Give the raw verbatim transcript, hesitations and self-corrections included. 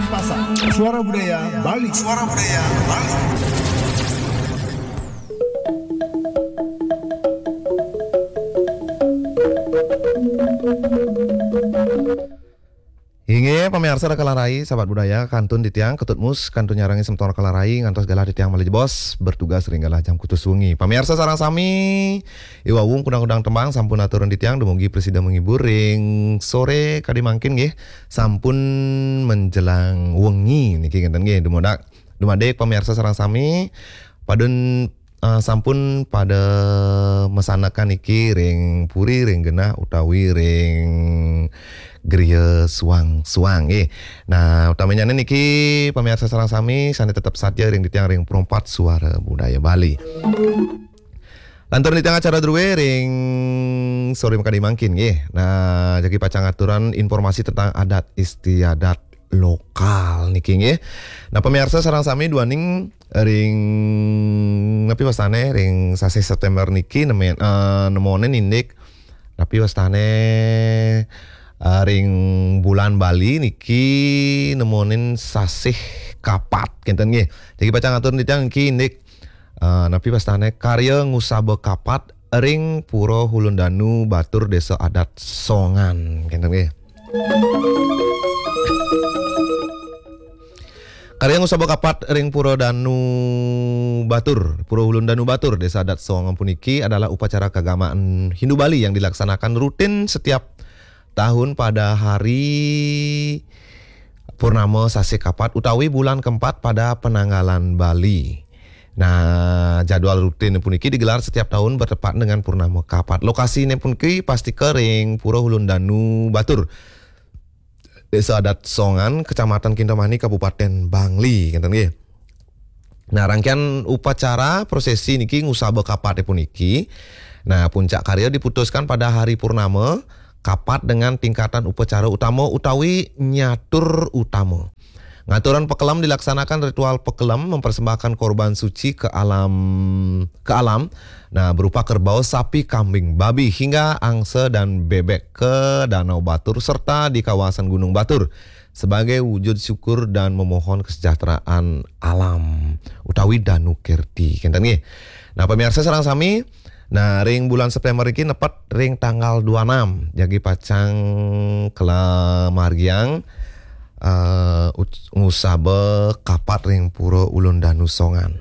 Pasar. Suara Budaya Bali. Suara Budaya Bali. Inggih, pamiarsa Kalarai, sahabat budaya, kantun titiang Ketut Mus, kantun nyarengan semeton Kalarai, ngantos galah titiang malih jebos, bertugas ring galah jam kutus wengi. Pamiarsa sareng sami, i wau kudang-kudang tembang sampun aturang titiang, dumugi prasida menghibur ring sore kadi mangkin nggih, sampun menjelang wengi niki ngenten nggih, dumadak, dumadik pamiarsa sareng sami, padun eh, sampun pada masanekan niki ring puri, ring genah utawi ring griya suang-suang nggih. Nah, utaminyané niki pamiarsa sareng sami sané tetep satia ring titiang ring Perempat Suara Budaya Bali. Lantur titiang acara druwé ring sore makadi mangkin nggih. Nah, jagi pacang aturang informasi tentang adat istiadat lokal niki nggih. Nah, pamiarsa sareng sami duaning ring napi wastané ring sasih September niki nemen, eh, nemonin indik napi wastané, eh, ring bulan Bali niki nemonin sasih kapat kenten nggih. Jagi pacang atur titiang niki indik, eh, napi wastané karya ngusaba kapat ring Pura Hulundanu Batur Désa Adat Songan kenten nggih. Karya ngusaba kapat ring Pura Danu Batur, Pura Hulun Danu Batur, Désa Adat Songan puniki adalah upacara keagamaan Hindu Bali yang dilaksanakan rutin setiap tahun pada hari purnama sasih kapat utawi bulan keempat pada penanggalan Bali. Nah, jadwal rutin puniki digelar setiap tahun bertepatan dengan purnama kapat. Lokasiné puniki pastika ring Pura Hulun Danu Batur. Désa Adat Songan, Kecamatan Kintamani, Kabupaten Bangli, ngenten nggih. Nah, rangkaian upacara prosesi niki ngusaba kapaté puniki. Nah, puncak karya diputuskan pada hari purnama, kapat dengan tingkatan upacara utama utawi nyatur utama. Ngaturan pakelem dilaksanakan ritual pakelem mempersembahkan korban suci ke alam ke alam. Nah, berupa kerbau, sapi, kambing, babi, hingga angsa dan bebek ke Danau Batur serta di kawasan Gunung Batur sebagai wujud syukur dan memohon kesejahteraan alam utawi Danu Kerti. Kenten nggih. Nah, pemirsa sareng sami, nah, ring bulan September iki nepet ring tanggal dua enam, jagi pacang kala margiang, eh, ut-, ngusaba kapat ring Pura Ulun Danu Songan.